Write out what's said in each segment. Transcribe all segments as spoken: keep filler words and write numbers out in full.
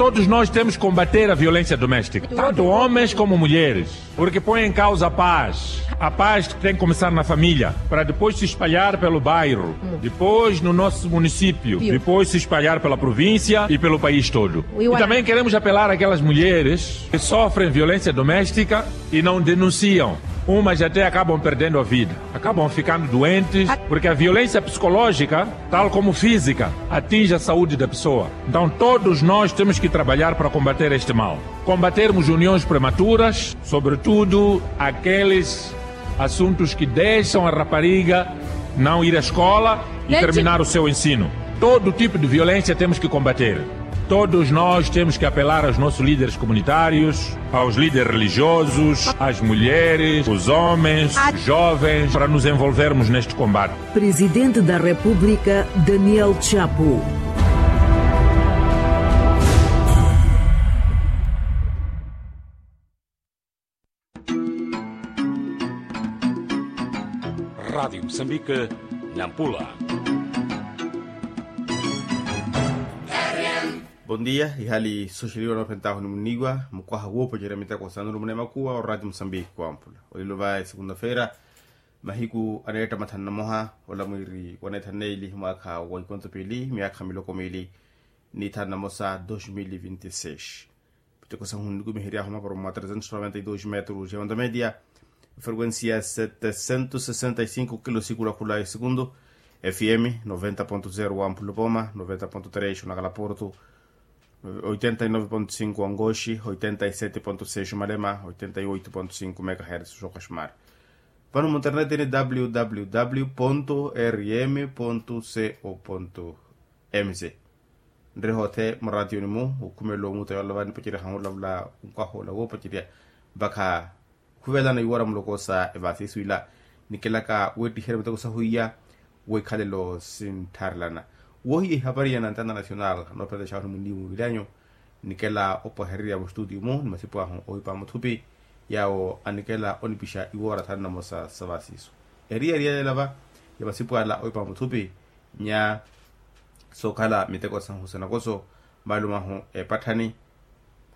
Todos nós temos que combater a violência doméstica, tanto homens como mulheres, porque põe em causa a paz. A paz tem que começar na família, para depois se espalhar pelo bairro, depois no nosso município, depois se espalhar pela província e pelo país todo. E também queremos apelar àquelas mulheres que sofrem violência doméstica e não denunciam. Umas até acabam perdendo a vida, acabam ficando doentes, porque a violência psicológica, tal como física, atinge a saúde da pessoa. Então, todos nós temos que trabalhar para combater este mal. Combatermos uniões prematuras, sobretudo aqueles assuntos que deixam a rapariga não ir à escola e terminar o seu ensino. Todo tipo de violência temos que combater. Todos nós temos que apelar aos nossos líderes comunitários, aos líderes religiosos, às mulheres, os homens, os jovens, para nos envolvermos neste combate. Presidente da República, Daniel Chapo. Rádio Moçambique, Nampula. Bom dia, ihali soxeliwa nophentahu ni muniwa mukwaha woopacerya miteko sa nulumuna emakuwa o Rádio Moçambique wampula. Olilo va esegunda-feira, mahiku aneetta mathanu na moha, ola mwiiri wa neetha neeli mwaakha wa ikonto piili myaakha miloko miili ni thanu na mosa dos mil e vinte e seis. Miteko sahu nikumihery'ahu maparo mwa trezentos noventa e dos metros ya onda media, frequencia setecentos sessenta e cinco kilo sikulakhula e segundu, fm noventa ponto zero wa mpulopoma, noventa ponto tres onakalaporto, oitenta e nove ponto cinco angoxi, oitenta e sete ponto seis malema, oitenta e oito ponto cinco megahertz xokaxmar. Vano munterneti ni www rm co mz. Nrehe othe muratiyoni mu okhumela omuta yoola vanipacerya hahulavula nkwaha ola woopacerya mpakha okhuvelana iwara muloko sa evasisu ila. Nikelaka weettiherya miteko sahu iya weikhalelo sinttharelana. Woohiya ihapari ya nantana national noopelexahu ni munimu vilanyu. Nikela opwahererya mustutiyo mu ni masipu ahu owipa muthupi yaawo anikela onipixa iwora thanu na mosa sa vasisu. Eri eri yalelava ya masipu ala owipa muthupi nya sookhala miteko sahu sa nakoso malumahu epatthani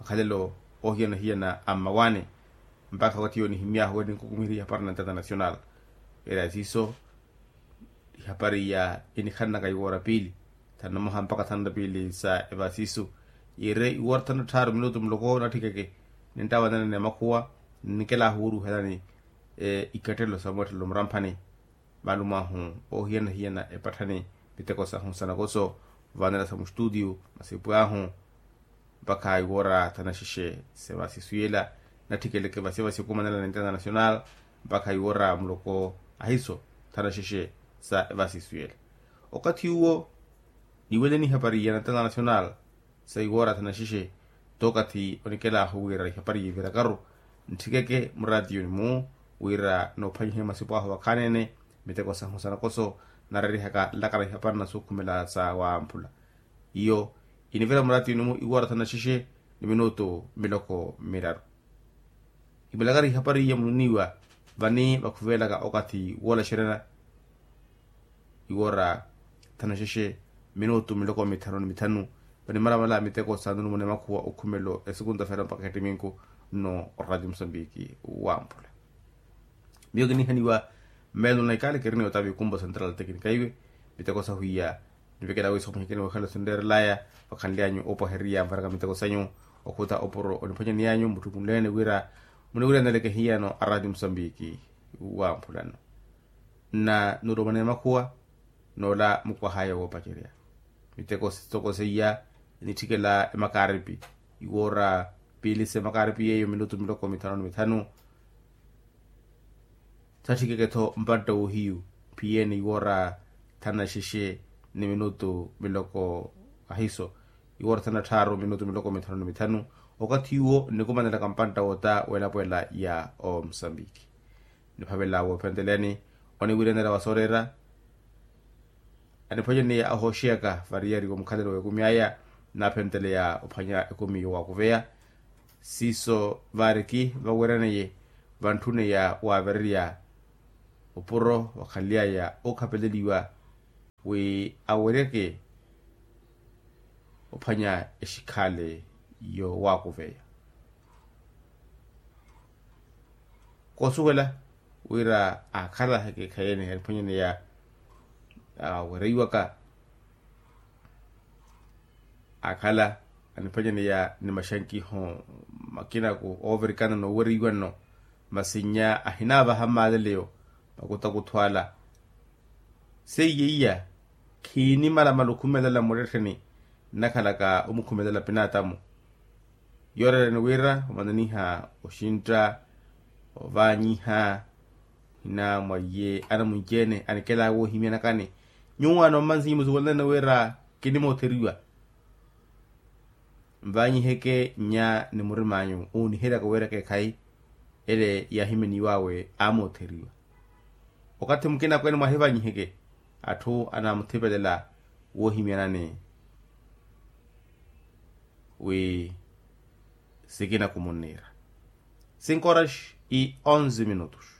makhalelo ohiyana-hiyana a mmawani. Mpakha watiyo nihimyahu eri nkukumiherya ihapari na international. Era siiso ihapari ya enikhananaka iwora piili thanu na moha mpakha thanu na piili sa evasisu. Yire iwora thanu na tthaaru minutu muloko natthikeke ninttawanana ni amakhuwa. Nnikela ahuuruhelani ikattelelo sa mweettelelo muramphani. Malumahu ohiyana-hiyana epatthani miteko sahu sa nakoso vaanela sa mustutiyo masipu ahu mpakha iwora thanu na xexe sa evasisu yela. Nattikeleke vasevasi okumanela na international mpakha iwora muloko ahiso thanu na xexe sa evasisu yela. Okathi uwo niweleni ihapari ya international sa iwora thanu na xexe. Tookathi onikelahu wira ihapari yivirakaru ntthikeke muratiyoni mu wira noophwanyihe masipu ahu vakhaanene miteko sahu sa nakoso nareerihaka nlakana ihapari na sookhumela sa wamphula. Iyo inivira muratiyoni mu iwora thanu na xexe ni minutu miloko miraru. Imulakari ihapari iya mununiwa vani vakhuvelaka okathi woolaxerya iwora thanu na xexe minutu miloko mithanu ni mithanu. Vanimaramala miteko sa nulumuna emakhuwa okhumelo esukunta fera mpakha ettiminku nno orati musambiki wamphula. Miyo kinihaniwa mmeelo na ikale kirini otavi kumbo central teknikaiwe miteko sahwiya. Nivekela wiiso muhikini wekhala sinreerelaya vakhanly'anyu opwahererya mvaraka miteko sanyu okhuta opuro oniphwanyaniy'anyu muttukunleene wira muniwiraneleke hiyano arati musambiki. Wamphulano nna nulomana emakhuwa n'ola mukwah'aya woopacerya. Miteko sitoko seiya enitthikela emakaripi iwoora piili s'emakaripi yeeyo minutu miloko mithanu ni mithanu. Satthikeke-tho mpantta woohiyu phiyene iwoora thanu na xexe ni minutu miloko ahiso iwoora thanu na tthaaru minutu miloko mithanu ni mithanu. Okathi uwo nnikumanelaka mpantta wota w'elapo ela ya omosambiki. Niphavela woophenteleyani oniwiiranela wa sooreera. Aniphwanyaniye ahooxeyaka variyari womukhalelo w'ekumi aya naaphenteleya ophwanya ekumi yowaakuveya. Siiso vaariki vaweeraneye vantthuneya waavererya opuro wakhanly'aya ookhapeleliwa wi aweryeke ophwanya exikhaale Yowaakuveya koosuwela wira aakhala heke ekhayi ene aniphwanyaneya awereiwaka. Aakhala aniphwanyaneya ni maxankiho makinaku oovirikana nooweriwa nno. Masi nnya ahinaavaha mmaleleyo makutakuthu ala. Seiye iya khiinimalamala okhumelela mmurettheni nnakhalaka omukhumelela pinaatamu. Yoorereni wira omananiha oxintta ovaanyiha. Ohina mwa iye anamunci-ene anikelaya woohimyanakani. Nyuwo anoommansinyi musuweleleni wira kinimootheriwa. Nvaanyiheke nnya ni murim'anyu ooniheryaka weeraka ekhayi ele yaahimyaniw'awe aamootheriwa. Okathi mukina akweene mwahivaanyiheke atthu anaamuthepelela woohimyanani wi sikina kumunniira. Cinco horas e onze minutos.